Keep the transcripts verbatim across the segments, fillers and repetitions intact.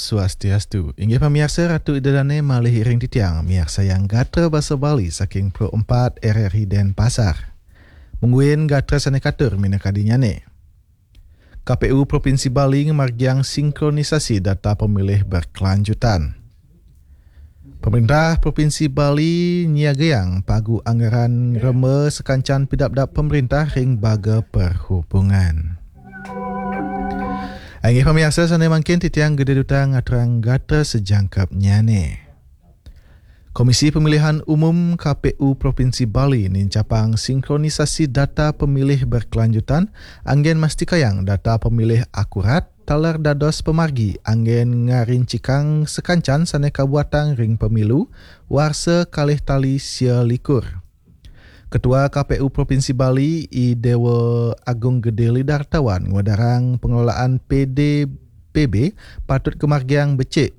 Swastiastu. Inggih pamiarsa, Ratu Ida Dane malih iring titiang miarsayang gatra basa Bali saking Pro empat R R I Denpasar. Mungguing gatra sane katur minakadinyane. K P U Provinsi Bali ngamargiang sinkronisasi data pemilih berkelanjutan. Pemerintah Provinsi Bali nyiagayang pagu anggaran ngremba sakancan pidabdab pemerintah ring baga perhubungan. Inggih pamiarsa, sane mangkin titiang Gede Duta ngaturang gatra sajangkepnyane. Komisi Pemilihan Umum K P U Provinsi Bali nincapang sinkronisasi data pemilih berkelanjutan, anggen mastikayang data pemilih akurat, taler dados pamargi anggen ngarincikang sakancan sane kabuatang ring pemilu warsa kalih tali sia likur. Ketua K P U Provinsi Bali, I Dewa Agung Gede Lidartawan, ngwedarang pengelolaan P D P B patut kamargiang becik.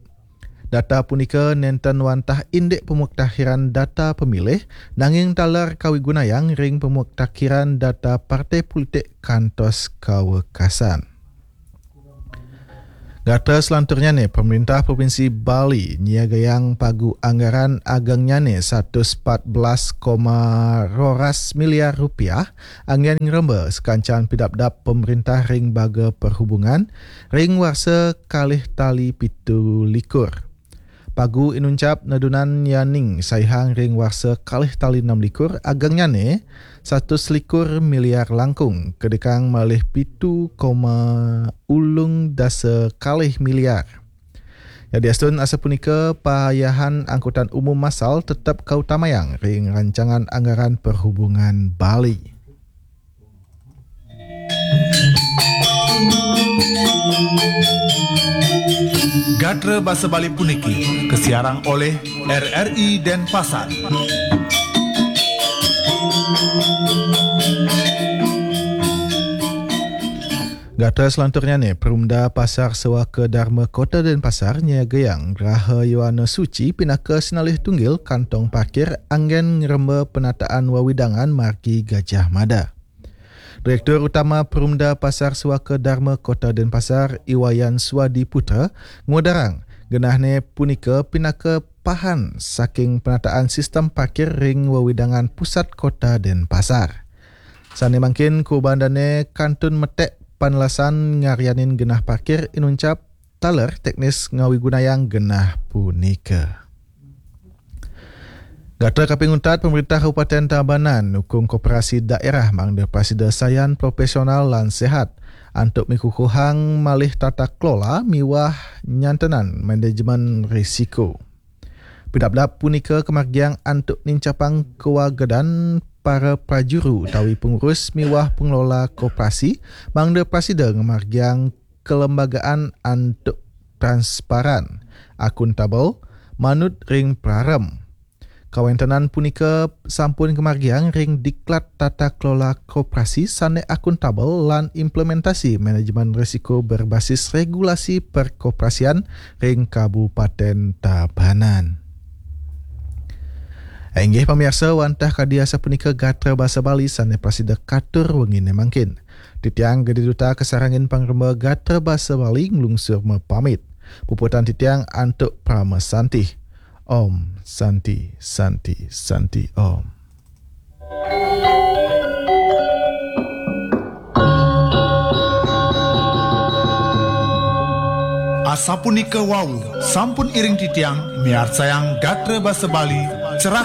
Data punika nenten wantah indik pemuktakhiran data pemilih, nanging taler kawigunayang ring pemuktakhiran data partai politik kantos kawekasan. Gatra selanturnyane, pemerintah Provinsi Bali nyiagayang pagu anggaran agengnyane satus empat belas koma roras miliar rupiah, anggen ngremba sakancan pidabdab pemerintah ring baga perhubungan ring warsa kalih tali pitu likur. Pagu inuncap nedunan yaning saihang ring warsa kalih tali enam likur, agengnyane satus likur miliar langkung, kedekang malih pitu koma ulung dasa kalih miliar. Yadiastun asapunika, payahan angkutan umum masal tetep kautamayang ring rancangan anggaran perhubungan Bali. Gatra basa Bali puniki kasiarang oleh R R I Denpasar. Gatra selanturnyane, Perumda Pasar Sewaka Dharma Kota Denpasar nyiagayang Graha Yowana Suci pinaka sinalih tunggil kantong parkir anggen ngremba penataan wewidangan margi Gajah Mada. Direktur Utama Perumda Pasar Sewaka Dharma Kota Denpasar, I Wayan Swadi Putra, ngwedarang genahne punika pinaka pahan saking penataan sistem parkir ring wewidangan pusat Kota Denpasar. Sane mangkin kuuban dane kantun metek panelasan ngaryanin genah parkir inuncap taler teknis ngawigunayang genah punika. Gatra kaping untat, pemerintah Kabupaten Tabanan nukung koperasi daerah mangda prasida sayan, profesional lan sehat antuk mikukuhang malih tata kelola miwah nyantenan manajemen risiko. Pidabdab punika kamargiang antuk nincapang kawagedan para prajuru utawi pengurus miwah pengelola koperasi mangda prasida ngamargiang kelembagaan antuk transparan, akuntabel, manut ring prarem. Kawentenan punika sampun kamargiang ring diklat tata kelola koperasi sane akuntabel lan implementasi manajemen risiko berbasis regulasi perkoperasian ring Kabupaten Tabanan. Inggih pamiarsa, wantah kadi asapunika gatra basa Bali sane prasida katur wengine mangkin. Titiang Gede Duta kasarengin pangremba gatra basa Bali nglungsur mapamit. Puputang titiang antuk parama santi. Om Santi, Santi, Santi Om. Asapunika wau, sampun iring titiang miarsayang gatra basa Bali